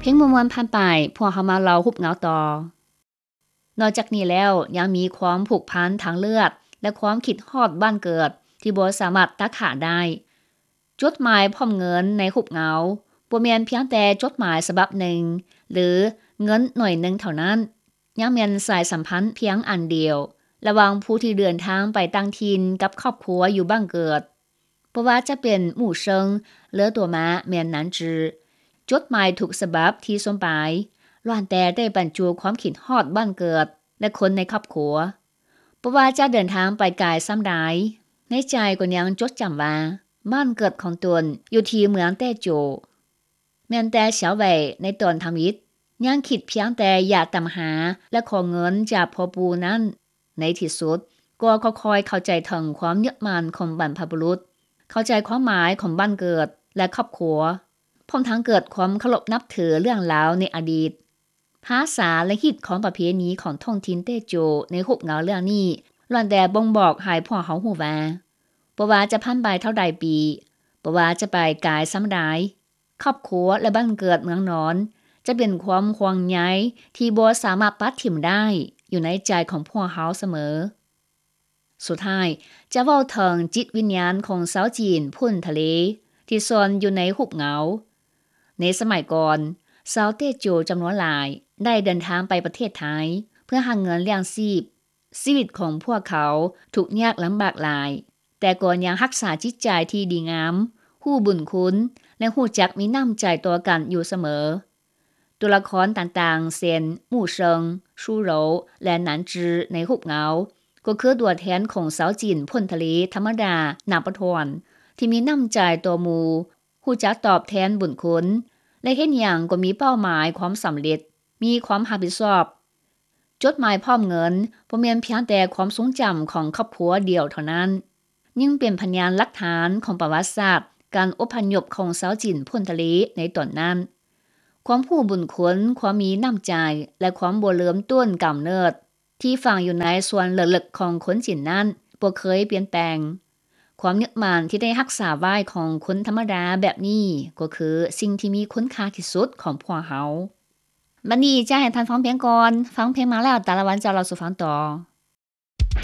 ພຽງມ່ວນໆຜ່ານໄປ, ພວກເຮົາມາເລົ່າຮູບເງົາຕໍ່. ນອກຈາກນີ້ແລ້ວ, ຍັງມີຄວາມຜູກພັນທາງເລືອດ ແລະ ຄວາມຄິດຮອດບ້ານເກີດທີ່ບໍ່ສາມາດຕັດຂາດໄດ້. ຈົດໝາຍພ້ອມເງິນໃນຮູບເງົາ ບໍ່ແມ່ນພຽງແຕ່ຈົດໝາຍສະບັບໜຶ່ງ ຫຼື ເງິນໜ້ອຍໜຶ່ງເທົ່ານັ້ນ, ຍັງແມ່ນສາຍສຳພັນພຽງອັນດຽວ ລະຫວ່າງຜູ້ທີ່ເດີນທາງໄປຕ່າງຖິ່ນກັບຄອບຄົວຢູ່ບ້ານເກີດ. ບໍ່ວ່າຈະເປັນໝູ່ເຊິ່ງ ເລີຕົວມາ ແມ່ນໜັນຈື ຈົດໝາຍທຸກສະບັບທີ່ສົ່ງໄປ ລ້ວນແຕ່ໄດ້ບັນຈຸຄວາມຄິດຮອດບ້ານເກີດ ແລະ ຄົນໃນຄອບຄົວ. ບໍ່ວ່າຈະເດີນທາງໄປໄກສ່ຳໃດ, ໃນໃຈກໍຍັງຈົດຈຳວ່າ ບ້ານເກີດຂອງຕົນຢູ່ທີ່ເມືອງແຕ້ໂຈ. ແມ່ນແຕ່ຊາວໄວໃນຕອນທຳອິດ ຍັງຄິດພຽງແຕ່ຢາກຕາມຫາ ແລະ ຂໍເງິນຈາກພໍ່ປູ່ນັ້ນ, ໃນທີ່ສຸດກໍຄ່ອຍໆເຂົ້າໃຈເຖິງຄວາມຍຶດໝັ້ນຂອງບັນພະບຸລຸດ, ເຂົ້າໃຈຄວາມໝາຍຂອງບ້ານເກີດ ແລະ ຄອບຄົວ, ພ້ອມທັງເກີດຄວາມເຄົາລົບນັບຖືເລື່ອງລາວໃນອະດີດ. ພາສາ ແລະ ຮີດຄອງປະເພນີຂອງທ້ອງຖິ່ນແຕ້ໂຈໃນຮູບເງົາເລື່ອງນີ້ ລ້ວນແຕ່ບົ່ງບອກໃຫ້ພວກເຮົາຮູ້ວ່າ ບໍ່ວ່າຈະຜ່ານໄປເທົ່າໃດປີ, ບໍ່ວ່າຈະໄປໄກສ່ຳໃດ, ຄອບຄົວ ແລະ ບ້ານເກີດເມືອງນອນ ຈະເປັນຄວາມຫ່ວງໃຍທີ່ບໍ່ສາມາດປະຖິ້ມໄດ້ ຢູ່ໃນໃຈຂອງພວກເຮົາສະເໝີ. ສຸດທ້າຍ ຈະເວົ້າເຖິງຈິດວິນຍານຂອງຊາວຈີນພົ້ນທະເລ ທີ່ຊ່ອນຢູ່ໃນຮູບເງົາ. ໃນສະໄໝກ່ອນ, ຊາວແຕ້ໂຈຈຳນວນຫຼາຍໄດ້ເດີນທາງໄປປະເທດໄທ ເພື່ອຫາເງິນລ້ຽງຊີບ. ຊີວິດຂອງພວກເຂົາທຸກຍາກລຳບາກຫຼາຍ, ແຕ່ກໍຍັງຮັກສາຈິດໃຈທີ່ດີງາມ, ຮູ້ບຸນຄຸນ ແລະ ຮູ້ຈັກມີນ້ຳໃຈຕໍ່ກັນຢູ່ສະເໝີ. ຕົວລະຄອນຕ່າງໆ ເຊັ່ນ ໝູ່ເຊິ່ງ, ຊູໂຫຼ ແລະ ໜັນຈື ໃນຮູບເງົາ ກໍຄືຕົວແທນຂອງຊາວຈີນພົ້ນທະເລທຳມະດາໜາປະທອນ ທີ່ມີນ້ຳໃຈຕໍ່ໝູ່, ຮູ້ຈັກຕອບແທນບຸນຄຸນ ແລະ ເຮັດຫຍັງກໍມີເປົ້າໝາຍຄວາມສຳເລັດ, ມີຄວາມຮັບຜິດຊອບ. ຈົດໝາຍພ້ອມເງິນບໍ່ແມ່ນພຽງແຕ່ຄວາມຊົງຈຳຂອງຄອບຄົວດຽວເທົ່ານັ້ນ, ຍັງເປັນພະຍານຫຼັກຖານຂອງປະຫວັດສາດການອົບພະຍົບຂອງຊາວຈີນພົ້ນທະເລໃນຕອນນັ້ນ. ຄວາມຮູ້ບຸນຄຸນ, ຄວາມມີນ້ຳໃຈ ແລະ ຄວາມບໍ່ເລີມຕົ້ນກຳເນີດ ທີ່ຝັງຢູ່ໃນສ່ວນເລິກໆຂອງຄົນຈີນນັ້ນບໍ່ເຄີຍປ່ຽນແປງ. ຄວາມຍຶດໝັ້ນທີ່ໄດ້ຮັກສາໄວ້ຂອງຄົນທຳມະດາແບບນີ້ ກໍຄືສິ່ງທີ່ມີຄຸນຄ່າທີ່ສຸດຂອງພວກເຮົາ. ບັດນີ້ຈະໃຫ້ທ່ານຟັງພຽງກ່ອນ, ຟັງພຽງມາແລ້ວ ຕາລະວັນຈະເລົ່າສູ່ຟັງຕໍ່.